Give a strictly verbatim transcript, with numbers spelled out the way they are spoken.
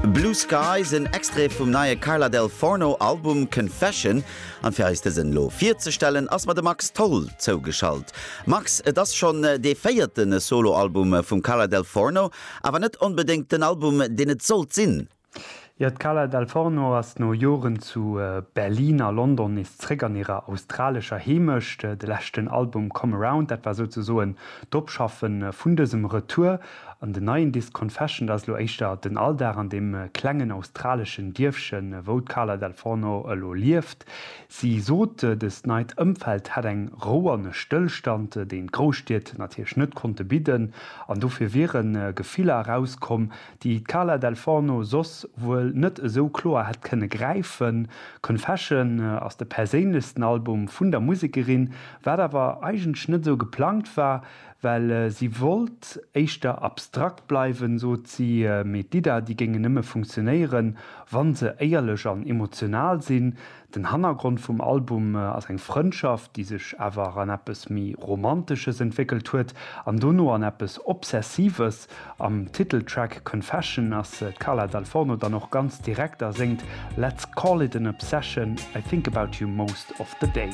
Blue Skies, en Extrait vum neie Carla Del Forno Album Confession. An fir eis dësen elo virzestellen, ass mer de Max Tholl zougeschalt. Max, et ass schonn dee véierte Soloalbum vum Carla Del Forno, awer net onbedéngt den Album, deen et sollt sinn. Jo, d'Carla Dal Forno ass no Joren zu Berlin a London nees zréck an hirer australescher Heemecht. De leschten Album Come Around, dat war souzesoen d'Opschaffe vun dësem Retour. An den neien Disk Confession, dat ass elo éischter den Alldag an deem klengen australeschen Dierfchen, wou d'Carla Dal Forno elo lieft. Si sot, dëst neit Ëmfeld hätt eng Rou an e Stëllstand, deen d'Grousstied natierlech net konnte bidden. An dofir wiere Gefiller erauskomm, déi d'Carla Dal Forno soss wuel net esou kloer hätt kënne gräifen. Confession ass de perséinlechsten Album vun der Musekerin, wat awer eigentlech net esou geplangt war, well si wollt éischter abstrakt bleiwen, sot si, mee d'Lidder, déi géingen nëmme funktionéieren, wa se éierlech an emotional sinn. Den Hannergrond vum Album ass eng Frëndschaft, déi sech awer an eppes méi Romantesches entwéckelt huet an dono an eppes Obsessives. Am Titeltrack Confession ass d'Carla Dal Forno dann och ganz direkt a séngt, Let's call it an obsession, I think about you most of the day.